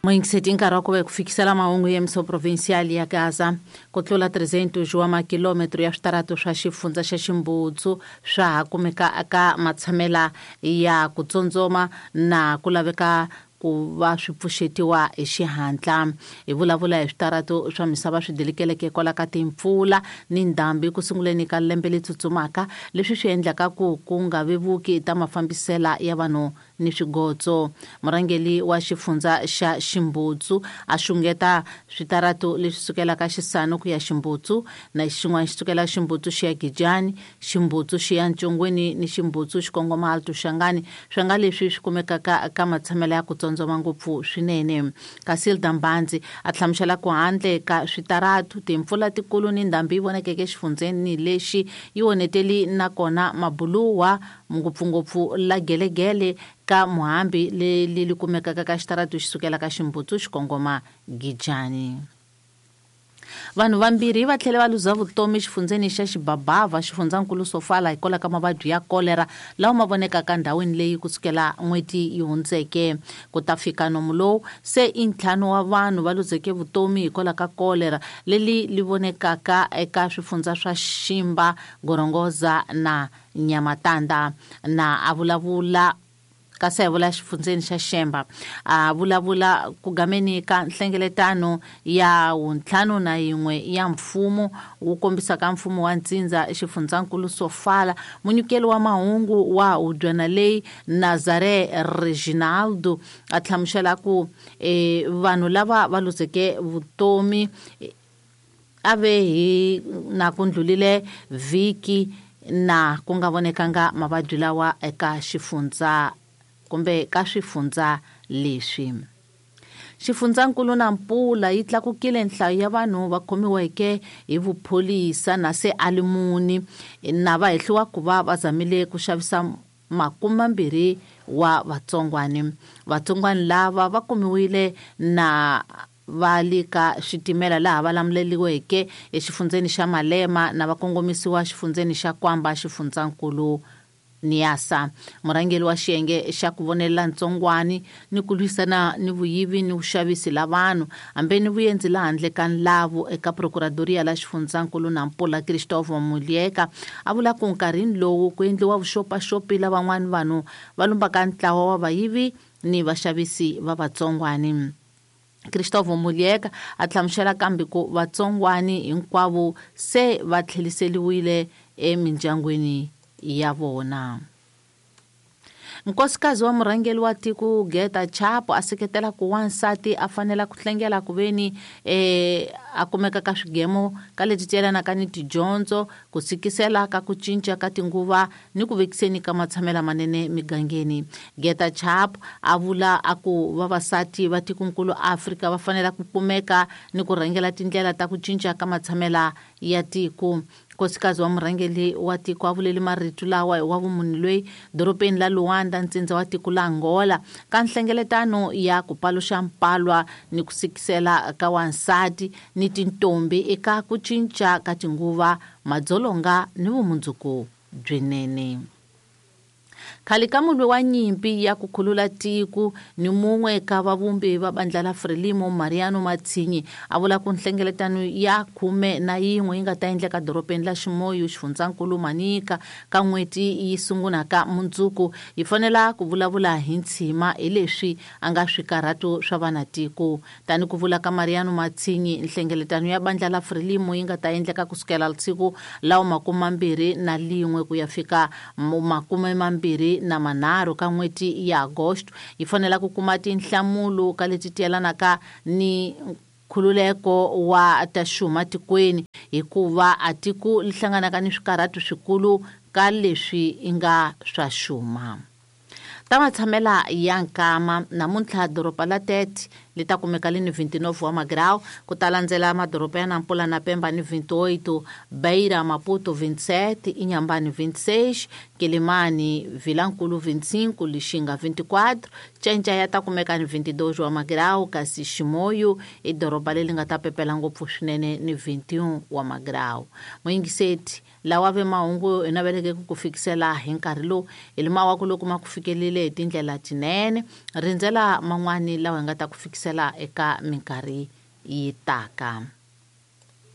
Moyingiseti nkarhi wa ku va hi ku fikisela mahungu ya miso provincial ya Gaza. Ku tlula 300 wa makilometro ya switaratu swa xifundza xa Ximbutsu swa ha kumeka eka matshamela ya ku tsondzoma na ku laveka ku va swi pfuxetiwa hi xihatla. Hi vulavula hi switaratu swa misava swi dilikeleke kwala ka timpfula ni ndhambi ku sunguleni ka lembe leri tsutsumaka, leswi swi endlaka ku ku nga vevuki ta mafambisela ya vanhu ni swigotso. Murhangeri wa xifundza xa Ximbutsu a xungeta switaratu leswi sukelaka Xisano ku ya Ximbutsu, na xin'wana xi sukela Ximbutsu xi ya Gijani, Ximbutsu xi ya Ntshongweni ni Ximbutsu xi kongoma Alto Shangani, swi nga leswi swi kumekaka ka matshamelo ya ku tsondzoma ngopfu swinene. Casilda Mbanzi a hlamusela ku handle ka switaratu, timpfula tikulu ni ndhambi yi vonakeke exifundzeni lexi yi onheteli nakona mabuluwa ngopfungopfu la gelegele ka Muhambi leri li kumekaka ka xitaratu xi sukela ka Ximbutsu xi kongoma Gijani. Vanhu vambirhi va tlhele va luza vutomi xifundzeni xa Xibabava, xifundzankulu Sofala, hikwalaho ka mavabyi ya kolera lawa ma vonekaka ndhawini leyi kusukela n'hweti yi hundzeke. Ku ta fika nomu lowu, se i ntlhanu wa vanhu va luzeke vutomi hikwalaho ka kolera leri li vonekaka eka swifundza swa Ximba, Gorongoza na Nyamatanda. Na a vulavula kasi a vula xifundzeni xa Xemba, a vulavula ku gameni ka nhlengeletano ya 51 ya mfumo wu kombisaka mfumo wa ntsindza xifundzankulu Sofala. Munyikeli wa mahungu wa hubyana leyi Nazare Reginaldo a hlamusela ku vanhu lava va luzeke vutomi a ve hi na ku ndlulile vhiki na ku nga vonekanga mavabyi lawa eka xifundza kumbe ka swifundza leswi. Xifundzankulu na Mpula yi tlakukile nhlayo ya vanhu va khomiweke hi vupholisa na se alimuni na va hehliwa ku va va zamile ku xavisa 20 wa vatsongwani. Vatsongwani lava va kumiwile na va le ka xitimela laha va lamuleliweke exifundzeni xa Malema na va kongomisiwa xifundzeni xa Kwamba xifundzankulu Niasa. Murhangeri wa xiyenge xa ku vonelela ntsongwani ni ku lwisana ni vuyivi ni vuxavisi la vanhu hambi ni vuendzi la handle ka nlavu eka Procuradoria la xifundzankulu na Mpula Christopher Mulieka a vula ku nkarhini lowu ku endliwa vuxopaxopi la van'wani vanhu va lumbaka ntlawa wa vayivi ni vaxavisi va vatsongwani. Christopher Mulieka a hlamusela kambe ku vatsongwani hinkwavo se va tlheliseliwile emindyangwini ya vona. Nkosikazi wa murhangeri wa tiko Geta Chapo a seketela ku wansati a fanela ku hlengela ku veni a kumeka ka swigemo ka leti tyelanaka ni tidyondzo, ku tshikisela ka ku cinca ka tinguva ni ku vekiseni ka matshamela manene migangeni. Geta Chapo a vula a ku vavasati va tikonkulu Afrika va fanela ku kumeka ni ku rhangela tindlela ta ku cinca ka matshamela ya tiko. Nkosikazi wa murhangeri wa tiko a vuleli marito lawa hi wa vumunhu loyi dorobeni la Luanda, ntsindza wa tiko la Angola, ka nhlengeletano ya ku paluxa mpalwa ni ku sikisela ka wansati ni tintombi eka ku cinca ka tinguva, madzolonga ni vumundzuku byinene. Khale ka mulwi wa nyimpi ya ku khulula tiko ni mun'we ka vavumbi va bandla la Frelimo Mariano Matsinyi a vula ku nhlengeletano ya 11 yi nga ta endleka dorobeni la Ximoyo xifundzankulu Manica ka n'hweti yi sungulaka mundzuku yi fanela ku vulavula hi ntshima hi leswi a nga swikarhato swa vanatiko. Tani ku vula ka Mariano Matsinyi, nhlengeletano ya bandla la Frelimo yi nga ta endleka kusukela siku la 21 ku ya fika 23 ka n'hweti ya Agosto yi fanela ku kuma tinhlamulo ka leti tyelanaka ni nkhululeko wa ta xuma tikweni, hikuva a tiko li hlanganaka ni swikarhato swikulu ka leswi i nga swa xuma. Ta matshamela ya nkama namuntlha doroba la Tete li ta kumeka li ni 29 wa magrau, ku ta landzela madoroba ya Nampula na Pemba ni 28, Beira Maputo 27, Inhambane 26, Quelimane Vilankulu 25, Lixinga 24, Cenca ya ta kumeka ni 22 wa magrau, kasi Ximoyo i doroba leri nga ta pepela ngopfu swinene ni 21 wa magrau. Muyingiseti lawa ve mahungu hi naveleke ku ku fikisela hi nkarhi lowu hi lima wa ku loko ma ku fikelile hi tindlela tinene, rindzela man'wani lawa hi nga ta ku fikisela. tlherisela eka minkarhi yi taka.